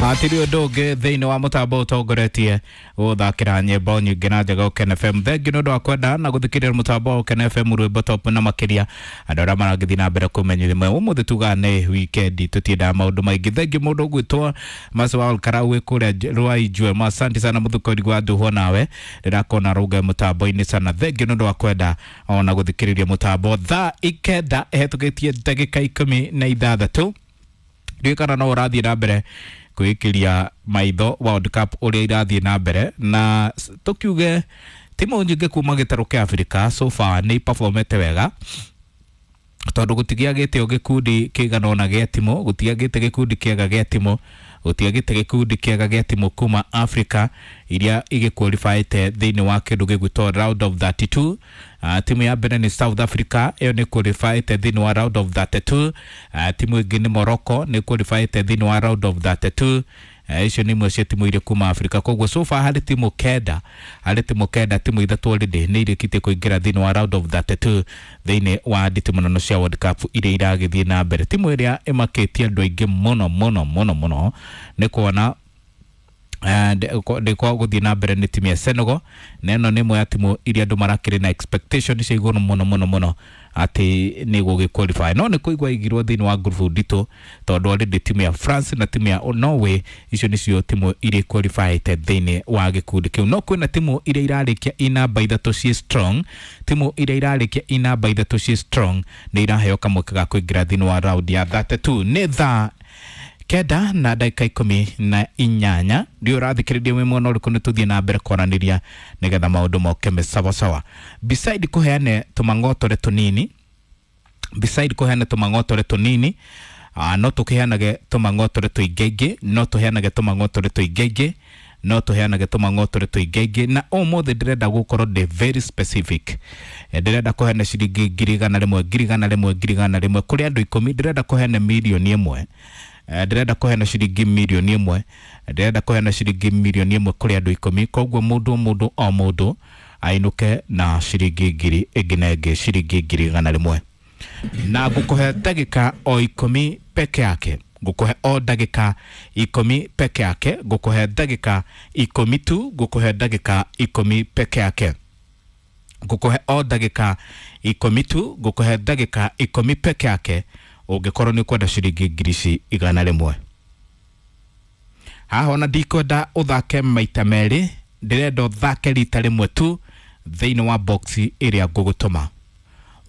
Atiri ũndũ ũngĩ thĩinĩ wa mũtambo ũtongoretie gũthakĩra nyĩmbo nyingĩ na njega Ũkene FM. Thengiũ nĩ ũndũ wa kwenda na gũthikĩrĩria mũtambo wa Ũkene FM rwĩmbo top na makĩria andũ arĩa maragĩthiĩ na mbere kũmenyithia ũmũthĩ tugaga nĩ weekend tũtiendaga maũndũ maingĩ. Thengiũ mũndũ ũgwĩtwo Maswal Karau wĩ kũrĩa Rwainjwe, asante sana mũthukũri wa nduhwo nawe ndĩrakona rũnge mũtambo-inĩ sana. Thengiũ nĩ ũndũ wa kwenda ona gũthikĩrĩria mũtambo thaa 9 ĩhetũkĩtie ndagĩka 16. Ndiũĩ kana no ũrathiĩ na mbere kwĩĩkĩria maitho World Cup ũrĩa irathiĩ na mbere na tũkiuge timu nyingĩ kuma gĩtarũ kĩa Africa so far nĩ iperformete wega tondũ gũtigiagĩte o gĩkundi kĩigana ũna gĩa timu, gũtiagĩte gĩkundi kĩega gĩa timu, gũtiagĩte gĩkundi kĩega gĩa timu kuma Africa iria igĩqualifyĩte thĩinĩ wa kĩndũ gĩgwĩtwo round of 32. Timu ya mbere nĩ South Africa, ĩyo nĩ qualifyĩte thĩinĩ wa round of 32. Timu ĩngĩ nĩ Morocco, nĩ qualifyĩte thĩinĩ wa round of 32. Icio nĩ imwe cia timu iria kuma Africa. Koguo so far harĩ timu kenda, harĩ timu kenda, timu ithatũ already nĩ irĩkĩtie kũingĩra thĩinĩ wa round of 32 thĩinĩ wa nditimũrano cia World Cup iria iragĩthiĩ na mbere. Timu ĩrĩa ĩmakĩtie andũ aingĩ mũno mũno mũno mũno nĩ kuona ndĩkwa gũthiĩ na mbere nĩ timu ya Senegal, na ĩno nĩ ĩmwe ya timu iria andũ marakĩrĩ na expectation cia igũrũ mũno mũno mũno atĩ nĩ gũgĩ qualify, no nĩ kũigua igirwo thĩinĩ wa ngurubu nditũ tondũ already timu ya France na timu ya Norway icio nĩcio timu iria qualifyĩte thĩinĩ wa gĩkundi kĩu. No kwĩna timu iria irarĩkia i namba ithatũ ciĩ strong, timu iria irarĩkia i namba ithatũ ciĩ strong nĩ iraheo kamweke ga kũingĩra thĩinĩ wa round ya 32. Nĩ thaa 9 na ndagĩka 18. Ndiũ ũrathikĩrĩria wĩ mwena ũrĩkũ, nĩ tũthiĩ na mbere kwaranĩria nĩgetha maũndũ moke me sawasawa. Beside kũheane tũmang'otore tũnini, beside kũheana tũmang'otore tũnini, no tũkĩheanage tũmang'otore tũingaingĩ, no tũheanage tũmang'otore tũingaingĩ, no tũheanage tũmang'otore tũingaingĩ. Na ũmũthĩ ndĩrenda gũkorwo ndĩ very specific. Ndĩrenda kũheana ciringi 100,000, 100,000, 100,000 kũrĩ andũ 10. Ndĩrenda kũheana 1,000,000. Ndĩrenda kũheana ciringi 1,000,000, ndĩrenda kũheana ciringi 1,000,000 kũrĩ andũ 10. Koguo mũndũ mũndũ o mũndũ ainũke na ciringi ngiri ĩngĩ na ĩngĩ, ciringi 100,000. Na ngũkũhe ndagĩka o 10 peke yake, ngũkũhe o ndagĩka 10 peke yake, ngũkũhe ndagĩka 10 tu, ngũkũhe ndagĩka 10 peke yake, ngũkũhe o ndagĩka 10 tu, ngũkũhe ndagĩka 10 peke yake ũngĩkorwo nĩ ũkwenda ciringi 100,000. Haha ona ndikwenda ũthake maita merĩ, ndĩrenda ũthake rita rĩmwe tu thĩinĩ wa box ĩrĩa ngũgũtũma.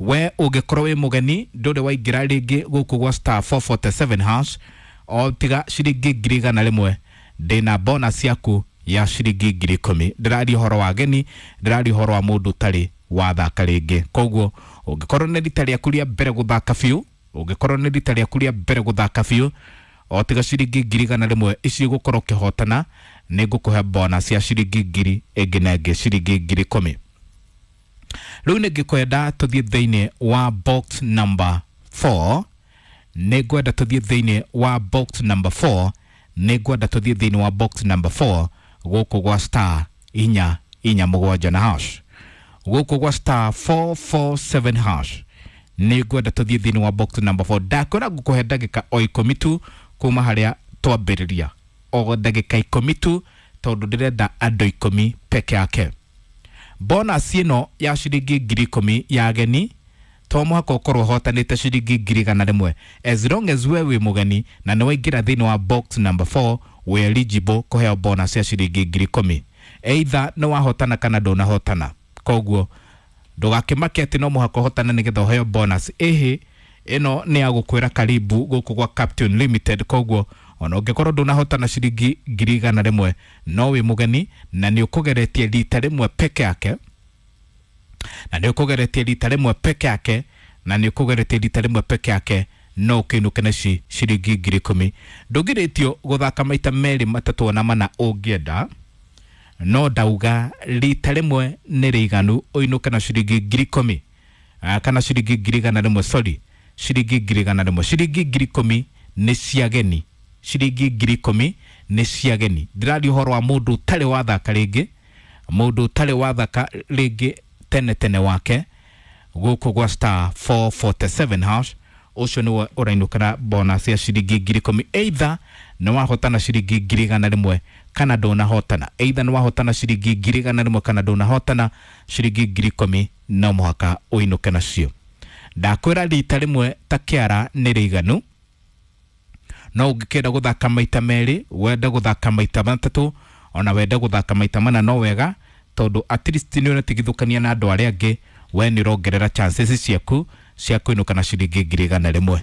We ũngĩkorwo wĩ mũgeni ndũrĩ waingĩra rĩngĩ gũkũ gwa star 447 hash, o tiga ciringi 100,000 ndĩna bonus yaku ya ciringi 10,000. Ndĩraria ũhoro wa ageni, ndĩraria ũhoro wa mũndũ ũtarĩ wathaka rĩngĩ. Koguo ũngĩkorwo nĩ rita rĩaku rĩa mbere gũthaka biũ, ũngĩkorwo nĩ rita rĩaku rĩa mbere gũthaka biũ, o tiga ciringi 100,000 ici ũgũkorwo ũkĩhotana, nĩ ngũkũhe bonus ya ciringi ngiri ĩngĩ na ĩngĩ, ciringi 10,000. Rĩu nĩ ngĩkwenda tũthiĩ thĩinĩ wa box number 4, nĩ ngwenda tũthiĩ thĩinĩ wa box number 4, nĩ ngwenda tũthiĩ thĩinĩ wa box number 4 gũkũ gwa star 447 na hash, gũkũ gwa star 447 hash, nĩ ngwenda tũthiĩ thĩinĩ wa box number 4. Ndakwĩra ngũkũhe ndagĩka o 10 tu kuma harĩa twambĩrĩria, o ndagĩka 10 tu, tondũ ndĩrenda andũ 10 peke yake. Bonus ĩno ya ciringi 10,000 ya ageni to mũhaka ũkorwo ũhotanĩte ciringi 100,000, as long as we wĩ mũgeni na nĩ waingĩra thĩinĩ wa box number 4 wĩ eligible kũheo bonus ya ciringi 10,000, either nĩ wahotana kana ndũnahotana. Koguo ndũgakĩmake atĩ no mũhaka ũhotane nĩgetha ũheo bonus. Ĩhĩ, ĩno nĩ ya gũkwĩra karibu gũkũ gwa Captain Limited. Koguo ona ũngĩkorwo ndũnahotana ciringi 100,000, no wĩ mũgeni na nĩ ũkũgeretie rita rĩmwe peke yake, na nĩ ũkũgeretie rita rĩmwe peke yake, na nĩ ũkũgeretie rita rĩmwe peke yake, no ũkĩinũke na ciringi 10,000. Ndũngĩrĩtio gũthaka maita merĩ matatũ ona mana ũngĩenda, no ndauga rita rĩmwe nĩ rĩiganu ũinũke na ciringi 10,000, kana ciringi 100,000, sorry, ciringi 100,000. Ciringi 10,000 nĩ cia ageni, ciringi 10,000 nĩ cia ageni. Ndĩraria ũhoro wa mũndũ ũtarĩ wathaka rĩngĩ, mũndũ ũtarĩ wathaka rĩngĩ tene tene wake gũkũ gwa star 447 hash, ũcio nĩwe ũrainũkĩra bonus ya ciringi 10,000, either Nĩ wahotana ciringi 100,000 kana ndũnahotana, either nĩ wahotana ciringi 100,000 kana ndũnahotana ciringi 10,000, no mũhaka ũinũke nacio. Ndakwĩra rita rĩmwe ta kĩara nĩ rĩiganu, no ũngĩkenda gũthaka maita merĩ, wende gũthaka maita matatũ, ona wende gũthaka maita mana no wega, tondũ at least nĩ ũratigithũkania na andũ arĩa angĩ. We nĩ ũrongerera chances ciaku cia kũinũka na ciringi 100,000.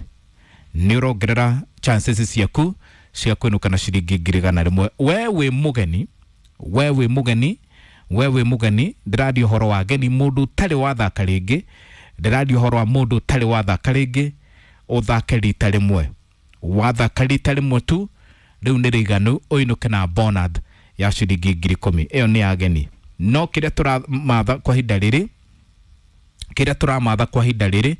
Nĩ ũrongerera chances ciaku cia kũinũka na ciringi 100,000. We wĩ mũgeni, we wĩ mũgeni, we wĩ mũgeni, ndĩraria ũhoro wa ageni, mũndũ ũtarĩ wathaka rĩngĩ, ndĩraria ũhoro wa mũndũ ũtarĩ wathaka rĩngĩ, ũthake rita rĩmwe. Wathaka rita rĩmwe tu rĩu nĩ rĩiganu ũinũke na bonus ya ciringi 10,000. Ĩyo nĩ ageni. No kĩrĩa tũramatha kwa ihinda rĩrĩ, kĩrĩa tũramatha kwa ihinda rĩrĩ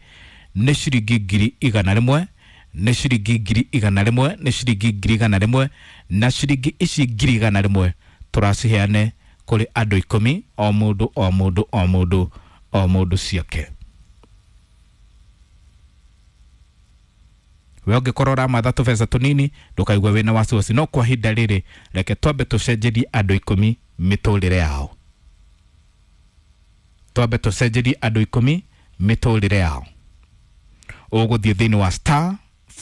nĩ ciringi 100,000, nĩ ciringi 100,000, nĩ ciringi 100,000, na ciringi ici 100,000 tũraciheane kũrĩ andũ 10, o mũndũ o mũndũ o mũndũ o mũndũ ciake. We ũngĩkorwo ũramatha tũbeca tũnini ndũkaigue wĩna wasiwasi, no kwa ihinda rĩrĩ reke twambe tũcenjerie andũ 10 mĩtũrĩre yao, twambe tũcenjerie andũ 10 mĩtũrĩre yao. Ũgũthiĩ thĩinĩ wa star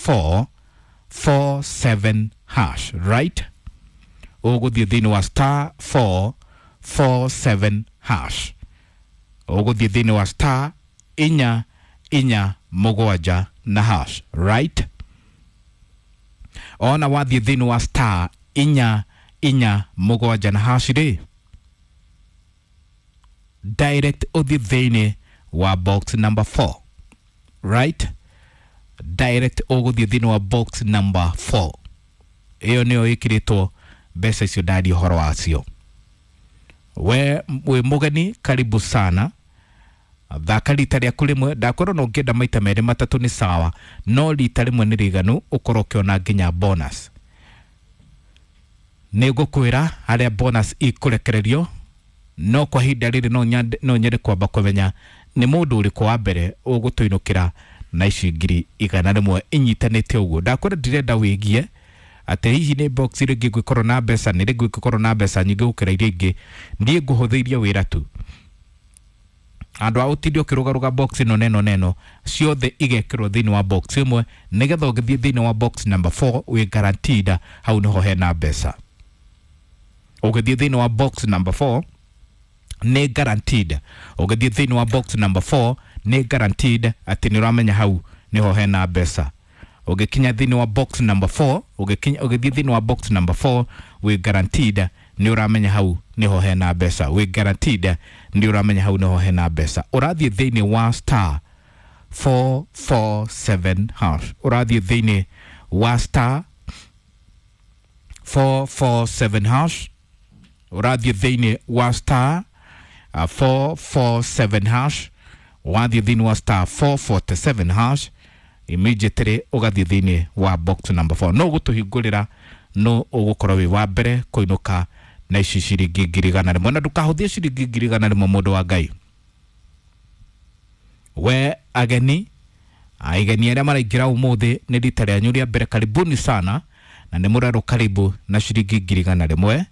447 hash, right? Ũgũthiĩ thĩinĩ wa star 447 hash, ũgũthiĩ thĩinĩ wa star 4 4 7 na hash, right? Ona wathiĩ thĩinĩ wa star 4 4 7 na hash rĩ, direct ũthiĩ thĩinĩ wa box number 4, right? Direct ũgũthiĩ thĩinĩ wa box number 4. Ĩyo nĩyo ĩkĩrĩtwo mbeca icio ndaria ũhoro wacio. We wĩ mũgeni, karibu sana. Thaka rita rĩaku rĩmwe, ndakorwo no ũngĩenda maita merĩ matatũ nĩ sawa, no rita rĩmwe nĩ rĩiganu ũkorwo ũkĩona nginya bonus. Nĩ ngũkwĩra harĩa bonus ikũrekererio, no kwa ihinda rĩrĩ no nyende kwamba kũmenya nĩ mũndũ ũrĩkũ wa mbere ũgũtũinũkĩra na ici 100,000 inyitanĩte ũguo. Ndakwĩra ndirenda wĩgie atĩ hihi nĩ box rĩngĩ ngũkorwo na mbeca, nĩ rĩngĩ ngũkorwo na mbeca nyingĩ gũkĩra iria ingĩ. Niĩ ngũhũthĩirie wĩra tu, andũ a ũtinde ũkĩrũgarũga box ĩno neno neno ciothe igekĩrwo thĩinĩ wa box ĩmwe, nĩgetha ũgĩthiĩ thĩinĩ wa box number 4 wĩ guaranteed hau nĩho hena mbeca. Ũgĩthiĩ thĩinĩ wa box number 4 nĩ guaranteed, ũgĩthiĩ thĩinĩ wa box number 4 nĩ guaranteed atĩ nĩ ũramenya hau nĩho hena mbeca. Ũgĩkinya thĩinĩ wa box number 4, ũgĩthiĩ thĩinĩ wa box number 4 wĩ guaranteed nĩ ũramenya hau nĩho hena mbeca, wĩ guaranteed nĩ ũramenya hau nĩho hena mbeca. Ũrathiĩ thĩinĩ wa star 447 hash, ũrathiĩ thĩinĩ wa star 447 hash, ũrathiĩ thĩinĩ wa star 447 hash, wathiĩ thĩinĩ wa star 447 hash immediately ũgathiĩ thĩinĩ wa box number 4. No ũgũtũhingũrĩra, no ũgũkorwo wĩ wa mbere kũinũka na ici ciringi 100,000. Na ndũkahũthie ciringi 100,000, mũndũ wa Ngai. We ageni, aigeni arĩa maraingĩra ũmũthĩ nĩ rita rĩanyu rĩa mbere, karibuni sana, na nĩ mũrerwo karibu na ciringi 100,000,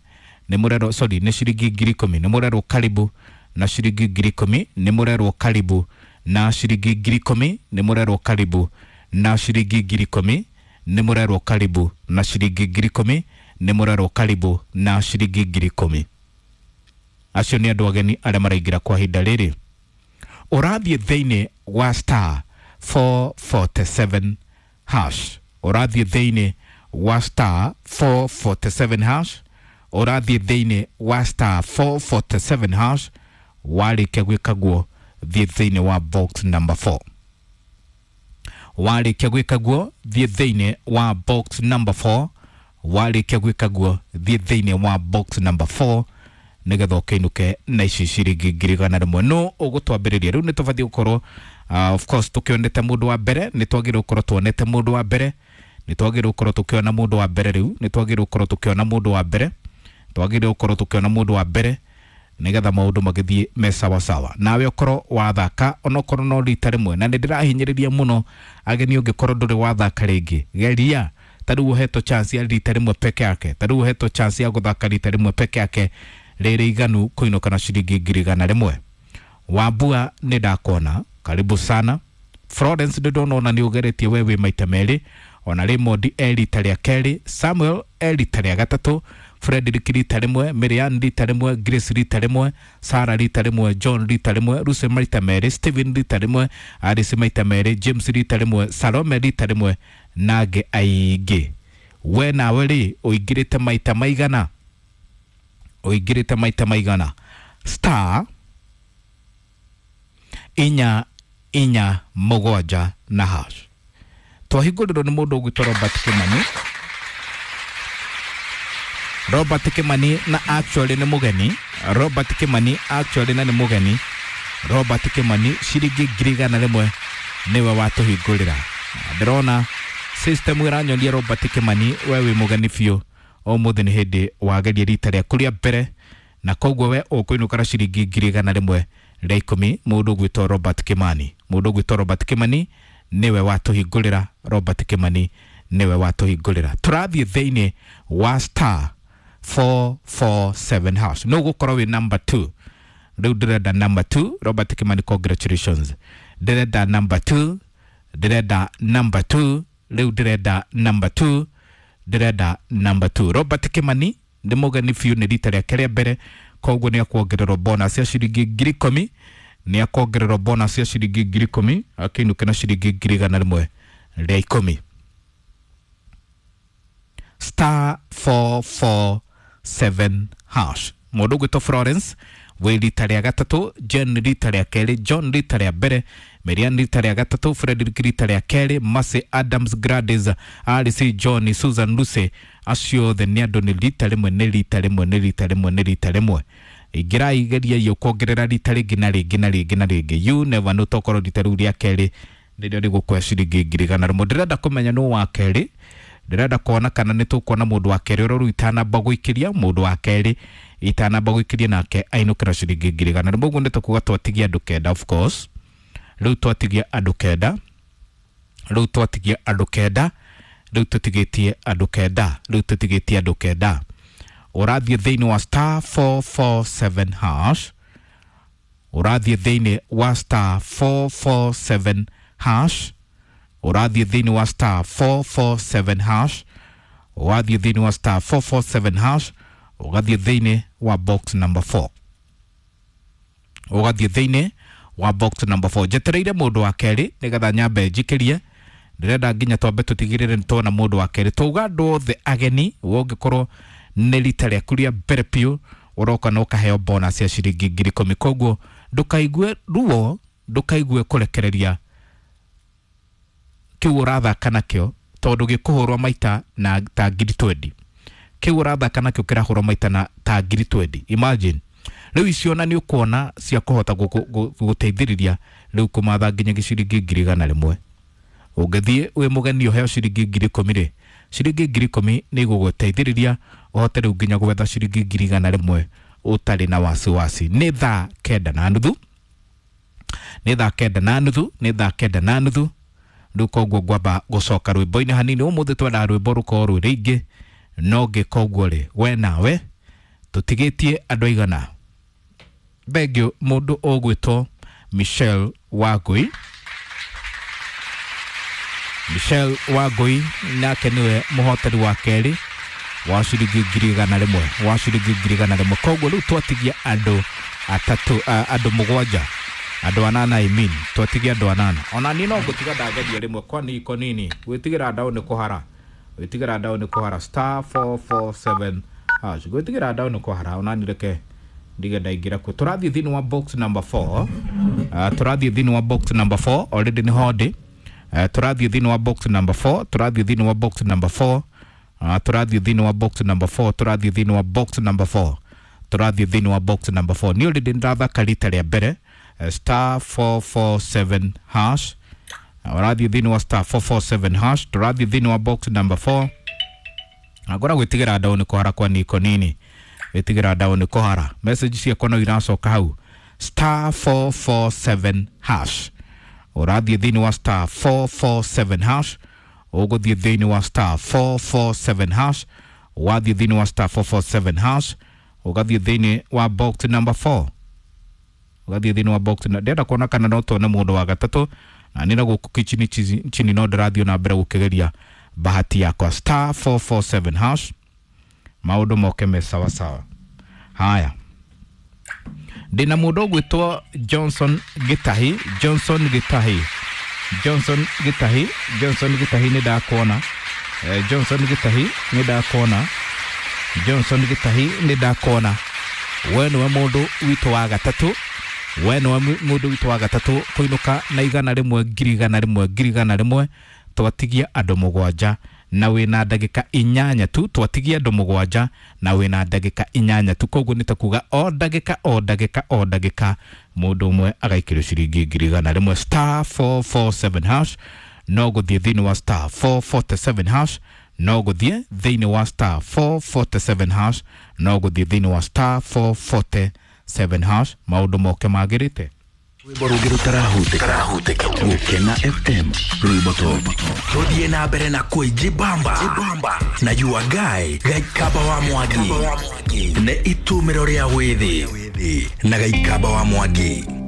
nĩ mũrerwo, sorry, nĩ ciringi 10,000, nĩ mũrerwo karibu na ciringi 10,000, nĩ mũrerwo karibu na ciringi 10,000, nĩ mũrerwo karibu na ciringi 10,000, nĩ mũrerwo karibu na ciringi 10,000, nĩ mũrerwo karibu na ciringi 10,000. Acio nĩ andũ ageni arĩa maraingĩra kwa ihinda rĩrĩ. Ũrathiĩ thĩinĩ wa star 447 hash, ũrathiĩ thĩinĩ wa star 447 hash, ũrathiĩ thĩinĩ wa star 447 hash. Warĩkia gwĩka guo thiĩ thĩinĩ wa box number 4. Warĩkia gwĩka guo thiĩ thĩinĩ wa box number 4. Warĩkia gwĩka guo thiĩ thĩinĩ wa box number 4 nĩgetha ũkĩinũke na ici ciringi 100,000. No ũgũtwambĩrĩria rĩu nĩ tũbatiĩ gũkorwo of course tũkĩonete mũndũ wa mbere, nĩ twagĩrĩirwo gũkorwo tuonete mũndũ wa mbere, nĩ twagĩrĩirwo gũkorwo tũkĩona mũndũ wa mbere rĩu, nĩ twagĩrĩirwo gũkorwo tũkĩona mũndũ wa mbere, twagĩrĩirwo gũkorwo tũkĩona mũndũ wa mbere nĩgetha maũndũ magĩthiĩ me sawa sawa. Nawe ũkorwo wathaka onokorwo no rita rĩmwe, na nĩ ndĩrahinyĩrĩria mũno ageni, ũngĩkorwo ndũrĩ wathaka rĩngĩ, geria Ta rĩu ũhetwo chance ya rita rĩmwe peke yake, ta rĩu ũhetwo chance ya gũthaka rita rĩmwe peke yake rĩrĩ iganu kũinũka na ciringi 100,000. Wambua nĩ ndakuona, karibu sana. Florence nĩ ndona ona nĩ ũgeretie we wĩ maita merĩ, ona Raymond e rita rĩa kerĩ, Samuel e rita rĩa gatatũ, Frederick rita rĩmwe, Marian rita rĩmwe, Grace rita rĩmwe, Sarah rita rĩmwe, John rita rĩmwe, Lucy maita merĩ, Stephen rita rĩmwe, Alice maita merĩ, James rita rĩmwe, Salome rita rĩmwe na angĩ aingĩ. We nawe rĩ ũingĩrĩte maita maigana? Ũingĩrĩte maita maigana? Star 4 4 7 na hash. Twahingũrĩrwo nĩ mũndũ ũgwĩtwo Robert Kimani. Robert Kimani na actually nĩ mũgeni. Robert Kimani actually na nĩ mũgeni. Robert Kimani ciringi 100,000 nĩwe watũhingũrĩra. Ndĩrona system ĩranyonia Robert Kimani we wĩ mũgeni biũ, ũmũthĩ nĩ hĩndĩ wageria rita rĩaku rĩa mbere, na koguo we ũkũinũka na ciringi 110,000. Mũndũ ũgwĩtwo Robert Kimani, mũndũ ũgwĩtwo Robert Kimani nĩwe watũhingũrĩra. Robert Kimani nĩwe watũhingũrĩra. Tũrathiĩ thĩinĩ wa star 447 hash. No gũkorwo wĩ number 2. Rĩu ndĩrenda number 2. Robert Kimani, congratulations. Ndĩrenda number 2, ndĩrenda number 2, rĩu ndĩrenda number 2, ndĩrenda number 2. Robert Kimani nĩ mũgeni biũ, nĩ rita rĩake rĩa mbere, koguo nĩ akuongererwo bonus ya ciringi 10,000, nĩ akuongererwo bonus ya ciringi 10,000, akĩinũke na ciringi 110,000. Star 447 hash. Mũndũ ũgwĩtwo Florence wĩ rita rĩa gatatũ, Jen rita rĩa kerĩ, John rita rĩa mbere, Marian rita rĩa gatatũ, Frederick rita rĩa kerĩ, Mercy Adams, Gladys, Alice, John, Susan, Lucy, acio othe nĩ andũ nĩ rita rĩmwe, nĩ rita rĩmwe, nĩ rita rĩmwe, nĩ rita rĩmwe. Ingĩra igeria iyo kuongerera rita rĩngĩ na rĩngĩ na rĩngĩ na rĩngĩ. You never know, tokorwo rita rĩu rĩa kerĩ nĩrĩo rĩgũkũhe ciringi 100,000. Ndĩrenda kũmenya nũ wa kerĩ, ndĩrenda kuona kana nĩ tũkuona mũndũ wa kerĩ ũrĩa rĩu itanamba gũikĩria, mũndũ wa kerĩ itanamba gũikĩria nake ainũkĩra ciringi 100,000. Ũguo nĩ tũkuga twatigia andũ 9, of course. Rĩu twatigia andũ 9, rĩu twatigia andũ 9, rĩu tũtigĩtie andũ 9, rĩu tũtigĩtie andũ 9. Ũrathiĩ thĩinĩ wa star 447 hash, ũrathiĩ thĩinĩ wa star 447 hash, ũrathiĩ thĩinĩ wa star 447 hash, ũgathiĩ thĩinĩ wa star 447 hash, ũgathiĩ thĩinĩ wa box number 4, ũgathiĩ thĩinĩ wa box number 4. Njetereire mũndũ wa kerĩ nĩgetha nyambe njikĩrie. Ndĩrenda nginya twambe tũtigĩrĩre nĩ tuona mũndũ wa kerĩ. Twauga andũ othe ageni, we ũngĩkorwo nĩ rita rĩaku rĩa mbere biũ ũroka na ũkaheo bonus ya ciringi 10,000. Koguo ndũkaigue ruo, ndũkaigue kũrekereria kĩu ũrathaka nakĩo, tondũ gĩkũhũrwo maita na ta 20,000. Kĩu ũrathaka nakĩo kĩrahũrwo maita na ta 20,000. Imagine rĩu icio na nĩ ũkuona cia kũhota gũteithĩrĩria rĩu kũmatha nginya ciringi 100,000. Ũngĩthiĩ wĩ mũgeni ũheo ciringi 10,000 rĩ, ciringi 10,000 nĩ igũgũteithĩrĩria ũhote rĩu nginya gwetha ciringi 100,000 ũtarĩ na wasiwasi. Nĩ thaa 9:30, nĩ thaa 9:30, nĩ thaa 9:30. Rĩu koguo ngwamba gũcoka rwĩmbo-inĩ hanini. Ũmũthĩ twendaga rwĩmbo rũkorwo rwĩ rũingĩ, no ngĩka ũguo rĩ, we nawe tũtigĩtie andũ aigana. Thengio mũndũ ũgwĩtwo Michelle Wangui. Michelle Wangui nake nĩwe mũhotani wa kerĩ wa ciringi 100,000, wa ciringi 100,000. Koguo rĩu twatigia andũ atatũ, andũ 7, andũ 8, I mean twatigia andũ 8. Ona niĩ no ngũtiga ndageria rĩmwe, kwani iko nini, gwĩtigĩra ndaũ nĩ kũhara, gwĩtigĩra ndaũ nĩ kũhara. Star 447 hash, gwĩtigĩra ndaũ nĩ kũhara. Ona niĩ reke ndige ndaingĩra kuo. Tũrathiĩ thĩinĩ wa box number 4, tũrathiĩ thĩinĩ wa box number 4, already nĩ hondi. Tũrathiĩ thĩinĩ wa box number 4, tũrathiĩ thĩinĩ wa box number 4, tũrathiĩ thĩinĩ wa box number 4, tũrathiĩ thĩinĩ wa box number 4, tũrathiĩ thĩinĩ wa box number 4. Niĩ already nĩndathaka rita rĩa mbere star 447 hash, ũrathiĩ thĩinĩ wa star 447 hash, tũrathiĩ thĩinĩ wa box number 4. Ngora gwĩtigĩra ndaũ nĩ kũhara kwa niko nini, gwĩtigĩra ndaũ nĩ kũhara. Message ciakwa no iracoka hau. Star 447 hash, ũrathiĩ thĩinĩ wa star 447 hash, Ũgũthiĩ thĩinĩ wa star 447 hash. Wathiĩ thĩinĩ wa star 447 hash, ũgathiĩ thĩinĩ wa box number 4, ũgathiĩ thĩinĩ wa box na ndĩrenda kuona kana no tuone mũndũ wa gatatũ, na nĩ na gũkũ kichini chini no ndĩrathiĩ na mbere gũkĩgeria bahati yakwa. Star 447 hash, maũndũ moke me sawa sawa. Haya, ndĩna mũndũ ũgwĩtwo Johnson Gitahi, Johnson Gitahi, Johnson Gitahi, Johnson Gitahi, nĩ ndakuona. Johnson Gitahi, nĩ ndakuona. Johnson Gitahi, nĩ ndakuona. We nĩwe mũndũ witũ wa gatatũ, we nĩwe mũndũ witũ wa gatatũ kũinũka na 100, 100,000, 100,000. Twatigia andũ 7 na wĩna ndagĩka 8 tu. Twatigia andũ 7 na wĩna ndagĩka 8 tu, koguo nĩ ta kuga o ndagĩka, o ndagĩka, o ndagĩka mũndũ ũmwe agaikĩrio ciringi 100,000. Star 447 hash, no gũthiĩ thĩinĩ wa star 447 hash, no gũthiĩ thĩinĩ wa star 447 hash, no gũthiĩ thĩinĩ wa star 447 hash, maũndũ moke magĩrĩte. Rwĩmbo rũngĩ rũtarahutĩka Gũkena FM, rwĩmbo top. Tuthiĩ na mbere na kwĩjibamba na your guy Gaikaba wa Mwangi nĩ itumĩro rĩa wĩthĩ na Gaikaba wa Mwangi.